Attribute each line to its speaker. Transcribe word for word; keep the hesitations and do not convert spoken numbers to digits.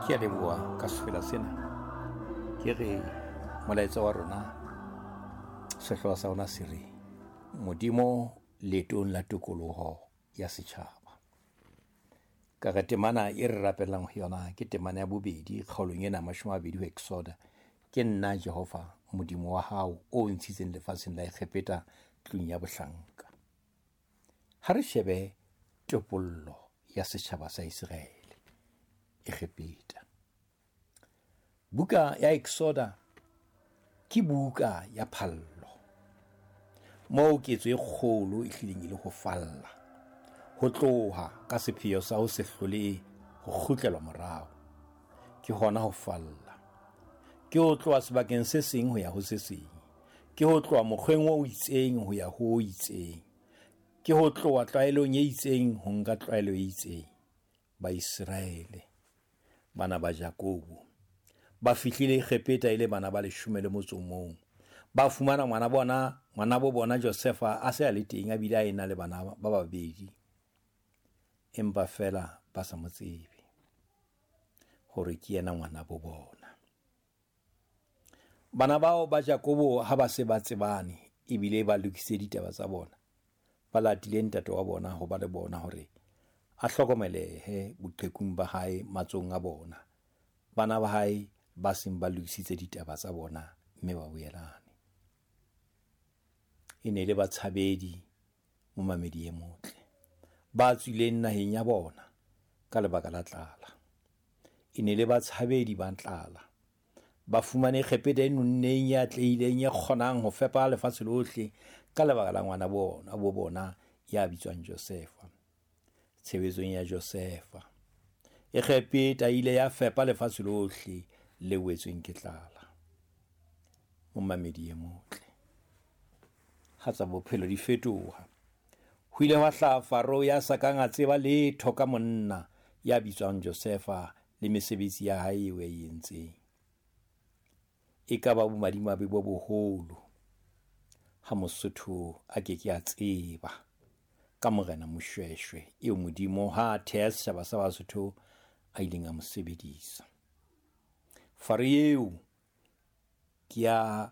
Speaker 1: Ke a leboha ka sefela sena. Ke re molaetsa wa rona, sehlooho sa rona se re Modimo leetong la tokoloho ya setjhaba. Ka re temana e re rapelang ho yona ke temana ya bobedi kgaolong ena mashome a mabedi ho Exoda. Ke nna Jehova Modimo wa hao o ntshitseng lefatsheng la Egepeta tlung ya bohlanka. Ha re shebe topollo ya setjhaba sa Iseraele Egepeta. Buka ya Exoda ke buka ya phallo, moo ketso e kgolo e hlileng e le ho falla, ho tloha ka sepheo sa ho se hlole ho kgutlelwa morao. Ke hona ho falla, ke ho tloha sebakeng se seng ho ya ho se seng, ke ho tloha mokgweng o itseng ho ya ho o itseng, ke ho tloha tlwaelong e itseng ho nka tlwaelo e itseng. Baiseraele, bana ba Jakobo, ba fihlile Egepeta e le bana ba leshome le motso o mong. Ba fumana ngwana bona, ngwanabo bona Josefa a se a le teng, a bile a ena le bana ba babedi, empa feela ba sa mo tsebe hore ke yena ngwanabo bona. Bana bao ba Jakobo ha ba se ba tsebane ebile ba lokisitse ditaba tsa bona, ba latile ntate wa bona ho ba le bona hore a hlokomelehe boqhekung ba hae matsohong a bona. Bana ba hae ba seng ba lokisitse ditaba tsa bona mme ba boelane. E ne le batshabedi, momamedi e motle, ba tswileng naheng ya bona ka lebaka la tlala. E ne le batshabedi ba tlala, ba fumane Egepeta e nonneng, e atlehileng, e kgonang ho fepa lefatshe lohle ka lebaka la ngwana bona, bo bona ya bitswang Josefa. Tshebetsong ya Josefa, Egepeta e ile ya fepa lefatshe lohle le wetsweng ke tlala. Momamedi e motle, ha tsa bophelo di fetoha, ho ile hwa hlaha Faro ya sa kang a tseba letho ka monna ya bitswang Josefa le mesebetsi ya hae eo a e entseng. E ka ba bomadimabe bo boholo ha Mosotho a ke ke a tseba ka Morena Moshoeshoe eo Modimo ha a theha setjhaba sa Basotho a ileng a mo sebedisa. Faro eo ke ya